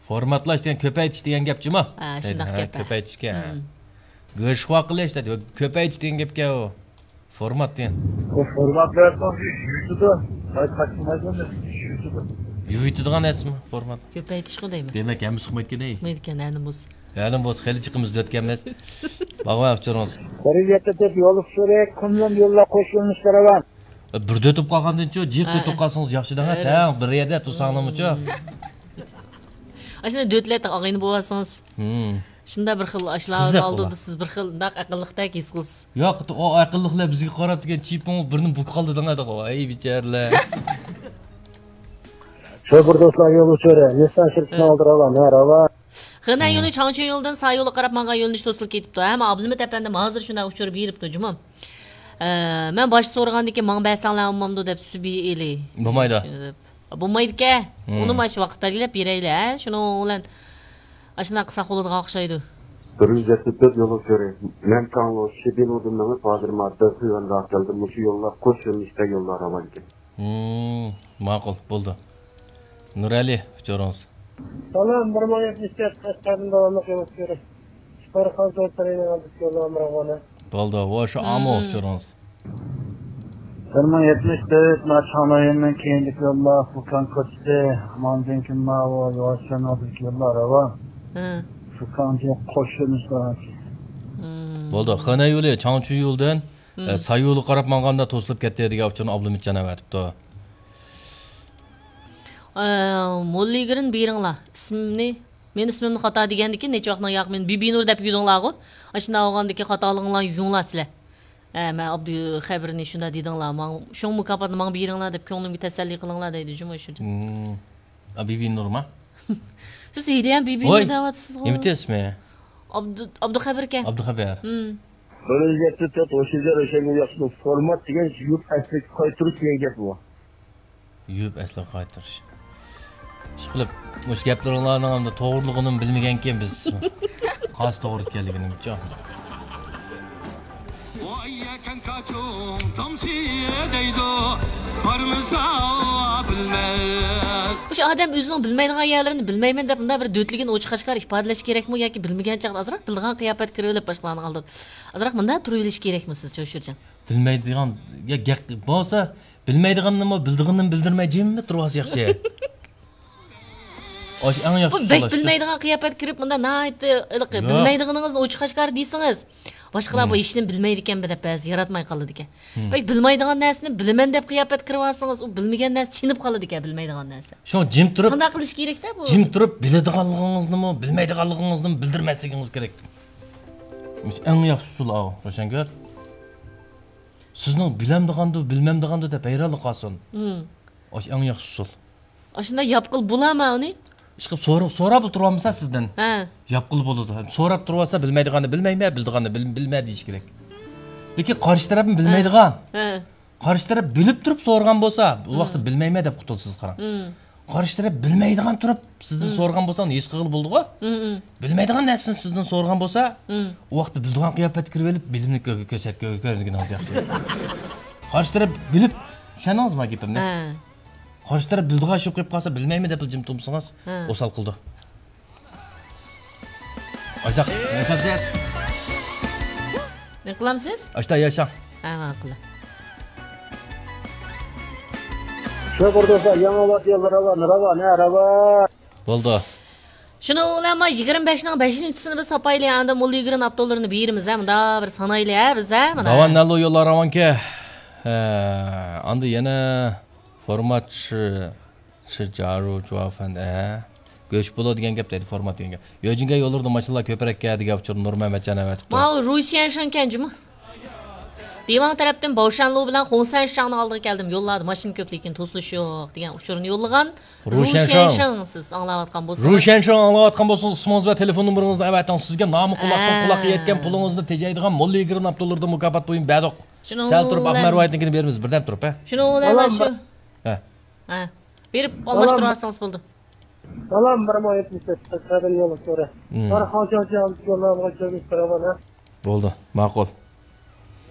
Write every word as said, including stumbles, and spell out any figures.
فورماتلاش دېگەن كۆپەيتىش دېگەن گەپ جۇمۇ؟ ھە، شۇنداق ھە، گەپ. كۆپەيتىشكەن. مم. گۆشخۇا قىلىش دەيدۇ. كۆپەيتىش دېگەن گەپكەن ئۇ. فورمات دېگەن. ئۇ فورماتلاشقان يۇيۇتىدۇ. قايتا قايتىلمايدۇ، يۇيۇتىدۇ. يۇيۇتىدىغان نەرسىمۇ فورمات؟ كۆپەيتىشقۇ دەيمەن. دېمەك، ھەممىسى ئۇقمايدىكەن، ئەي. ئۇقمايدىكەن، ھەنە بولسا. ھەنە بولسا، خېلى جىقىمىز دۆتكەنمىز. باغۋەن ئۇچۇرىڭىز. بىر يەتتە تۆت يوللۇق سۈرەي، قۇملۇق يوللار قوش يۆنىلىشلەر بار. بىر دۆتۈپ قالغاندىن چۇ، جىق ھە. دۆتۈپ قالسىڭىز ياخشى دەڭە، ھە. تەڭ بىر يەردە تۇرساڭلارمۇچۇ. مم. ئاشۇنداق دۆتلەپ ئاغىنە بولۇۋالسىڭىز. مم. شۇنداق بىر خىل ئاشۇلار قىزىق ئالدىدا ئۇلار. سىز بىر خىل ناق ئەقىللىقتەك ھېس قىلىسىز. ياق، ئۇ ئەقىللىقلار بىزگە قاراپ دېگەن چىپىڭ بىرنى بۇ قالدى دەڭە دەغۇ. ئەي بىچارىلەر. شۇ بىر دوستلار يول ئۇچۇرى. نېسان شىركىتىنىڭ ھە. ئالدى راۋان، ھە، راۋان. خېنەن ھە. يولى چاڭچۈن يولىدىن سا يولغا قاراپ ماڭغان يۆنىلىش توسۇلۇپ كېتىپتۇ. ھەم ئابلىمىت ئەپەندىم ھازىر شۇنداق ئۇچۇر بېرىپتۇ جۇمۇ. ئە، مەن باشتا سورىغاندىكىن ماڭا بەرسەڭلار بولمامدۇ دەپ سۈبى ئېلى. بولمايدۇ. شۇنى دەپ. بولمايدىكەن. ھىم. ئۇنىمۇ ئاشۇ ۋاقىت بەلگىلەپ بېرەيلى، ھە؟ شۇنىڭ بىلەن ئاشۇنداق قىلساق بولىدىغان ئوخشايدۇ. بىر يۈز يەتتە تۆت يولغا كۆرە. مەن تاڭلۇ شىبىنۇدىن مېڭىپ، ھازىر ما دېخىغان راست كەلدىم. مۇشۇ يوللار قوش يۆنىلىشتە يوللار راۋان ئىكەن. ھىم، ماقۇل، بولدى. نۇرئەلى، ئۇچۇرىڭىز. سالام، بىر مىڭ يەتمىش تۆت، قەشقەردىن داۋاملىق يول ئۇچۇرى. ئىپارخان سوتلىرىنىڭ ئالدىدىكى يوللار راۋان. بولدى، ۋو شۇ ئامۇ ھىم. ئۇچۇرىڭىز. بىر مىڭ يەتمىش تۆت، ما چاڭ رايونىنىڭ كېيىنكى يوللار، فۇكان كوچىسى، ماندىن كېيىن ماۋۇ يۇۋاشچان ئالدىدىكى يوللار راۋان. ھە. فۇكانچە قوشۇلمىش راۋان. ھىم. بولدى، خېنەن يولى، چاڭچۈن يولىدىن، ھىم. ئە، سا يولىغا قاراپ ماڭغاندا توسۇلۇپ كەتتى دېگەن ئۇچۇرنى ئابلىمىتجان ئەۋەتىپتۇ. ئە، موللىگىرىن بېرىڭلار. ئىسمىمنى، مېنىڭ ئىسمىمنى خاتا دېگەندىكىن نەچچە ۋاقىتنىڭ ياق مېنى بىبىنۇر دەپ يۈدۈڭلارغۇ. ئاشۇنداق بولغاندىكىن خاتالىقىڭلارنى يۇيۇڭلار سىلەر. ھە، مەن ئابدۇخەبىرنى شۇنداق دېدىڭلار، ماڭ-، شۇڭ مۇكاپاتنى ماڭا بېرىڭلار دەپ كۆڭلۈمگە تەسەللى قىلىڭلار دەيدۇ جۇمۇ شۇ. ھىم. ئا، بىبىنۇرما؟ سىز ھېلىھەم بىبىنۇر ۋاي، دەۋاتىسىزغۇ. نېمىتى ئىسمى؟ ئابدۇ-، ئابدۇخەبىركەن. ئابدۇخەبىر. ھىم. بىر يۈز يەتتە تۆت، ئوشۇزلار ئۆشەنگە ياخشى فورمات دېگەن يۇرت ئەسلىگە قايتۇرۇش دېگەن گەپ بۇ. يۇيۇپ ئەسلىگە قايتۇرۇش. ئىشقىلىپ، مۇشۇ گەپلىرىڭلارنىڭ ئەمدى توغرىلىقىنىمۇ بىلمىگەنكەن بىز. قايسى توغرا ئىكەنلىكىنىمۇچۇ. ۋاي يەكەن كاچۇڭ دامسى دەيدۇ، بارمىسا بىلمەس. مۇشۇ ئادەم ئۆزىنىڭ بىلمەيدىغان يەرلىرىنى بىلمەيمەن دەپ مۇنداق بىر دۆتلىگىن ئوچۇق ئاشكارا ئىپادىلەش كېرەكمۇ ياكى بىلمىگەن چاغدا ئازراق بىلىدىغان قىياپەتكە كىرىۋېلىپ باشقىلارنىڭ ئالدىدا ئازراق مۇنداق تۇرۇۋېلىش كېرەكمۇ سىزچە، شۇرجان؟ بىلمەيدىغان، يا گەپ بولسا، بىلمەيدىغاننىمۇ بىلىدىغىنىنى بىلدۈرمەي جىممىپ تۇرۇۋالسا ياخشى. ئاشۇ ئەڭ ياخشى بۇ بەك ئۇسۇل ئاشۇ. بىلمەيدىغان قىياپەتكە كىرىپ، مۇنداق ناھايىتى ھېلىقى ياق. بىلمەيدىغىنىڭىزنى ئوچۇق ئاشكارا دېسىڭىز، باشقىلار بۇ ھېچنېمە بىلمەيدىكەن دەپ بەزى ياراتماي قالىدىكەن. ھىم. بەك بىلمەيدىغان نەرسىنى بىلىمەن دەپ قىياپەتكە كىرىۋالسىڭىز، ئۇ بىلمىگەن نەرسە چېنىپ قالىدىكەن، بىلمەيدىغان نەرسە. شۇڭا جىم تۇرۇپ، قانداق قىلىش كېرەكتە بۇ؟ جىم تۇرۇپ بىلىدىغانلىقىڭىزنىمۇ، بىلمەيدىغانلىقىڭىزنىمۇ بىلدۈرمەسلىكىڭىز كېرەك. ئەڭ ياخشى ئۇسۇل ئاۋۇ، روشەنگۈل. سىزنىڭ بىلەمدىغاندۇ، بىلمەمدىغاندۇ دەپ ھەيرانلىق قالسۇن. ھىم. ئاشۇ ئەڭ ياخشى ئۇسۇل. ئاشۇنداق ياپقىلى بولامەن ئۇنى؟ ئىشقىلىپ سوراپ، سوراپلا تۇرۇۋالمىسا سىزدىن. ھە. ياپقىلى بولىدۇ. سوراپ تۇرۇۋالسا بىلمەيدىغاننى بىلمەيمەن، بىلىدىغاننى بىل-، بىلمە دېيىش كېرەك. لېكىن قارشى تەرەپمۇ ھە. بىلمەيدىغان. ھە. قارشى تەرەپ بىلىپ تۇرۇپ سورىغان بولسا، ئۇ ۋاقىتتا ھىم. بىلمەيمەن دەپ قۇتۇلىسىز، قاراڭ. ھىم. قارشى تەرەپ بىلمەيدىغان تۇرۇپ سىزدىن ھىم. سورىغان بولسا، ئۇنى ھېس قىلغىلى بولىدىغۇ. ھىم، ھىم. بىلمەيدىغان نەرسىنى سىزدىن سورىغان بولسا، ھىم. ئۇ ۋاقىتتا بىلىدىغان قىياپەتكە كىرىۋېلىپ، بىلىمنى كۆ-، كۆرسەت-، كۆ-، كۆرگىنىڭىز ياخشى. قارشى تەرەپ بىلىپ، چۈشەندىڭىزمۇ گېپىمنى؟ ھە. قارشى تەرەپ بىلىدىغان ئىش يوق قېلىپ قالسا، بىلمەيمەن دەپ جىم تۇرمىسىڭىز، ھە. ئوسال قىلىدۇ. ئاشۇنداق ياشاپ كېتىسىز. نېمە قىلامسىز؟ ئاشۇنداق ياشاڭ. ھە، ماقۇل. شۇ بىر دوستلار، يېڭى ئاۋات يولى راۋان، راۋان، ھە، راۋان. بولدى. شۇنىڭ بىلەن ما يىگىرمە بەشنىڭ بەشىنچىسىنى بىز تاپايلى، ئاندا موللىگرىن ئاپتوللىرىنى بېرىمىز، ھە، مۇنداق بىر سانايلى، ھە، بىز، ھە، مانا. داۋان نەللۇ يوللار راۋانكى. ھە، ئاندا يەنە فورمات شى، شى جارۇ جۇۋافەن، ھە. گۆش بولۇ دېگەن گەپ دەيدۇ، فورمات دېگەن گەپ. يۆجىنگە يوللىرىدا ماشىنىلار كۆپرەككە دېگەن ئۇچۇرنى نۇرمەمەتجان ئەۋەتىپتۇ. ماۋۇ روشيەنشىڭكەن جۇمۇ. دىۋاڭ تەرەپتىن باۋشەنلۇ بىلەن خۇڭسەنشاڭنىڭ ئالدىغا كەلدىم. يوللاردا ماشىنا كۆپ، لېكىن توسۇلۇش يوق دېگەن ئۇچۇرنى يوللىغان روشيەنشاڭ. روشيەنشاڭ، سىز ئاڭلاۋاتقان بولسىڭىز. روشيەنشاڭ ئاڭلاۋاتقان بولسىڭىز، ئىسمىڭىز ۋە تېلېفون نومۇرىڭىزنى ئەۋەتىڭ. سىزگە نامى قۇلاقتىن ھە. قۇلاققا يەتكەن پۇلىڭىزنى تېجەيدىغان موللىگرىن ئاپتولىرىدا مۇكاپات بويۇم بەردۇق. شۇنىڭ سەل تۇرۇپ، بىلەن ئاقمەر رىۋايىتىنىڭكىنى بېرىمىز، بىردەم تۇرۇپ، ھە. شۇنىڭ بىلەن سالام. شۇ. ھە. ھە. بېرىپ سالام. ئالماشتۇرۇۋالسىڭىز بولدى. سالام، بىر مىڭ يەتمىش تۆت، قەشقەردىن يولغا كۆرە. ھىم. قارا خاڭشاڭشياڭ يوللارغا كۆرۈنۈش بېرىمەن، ھە. بولدى، ماقۇل.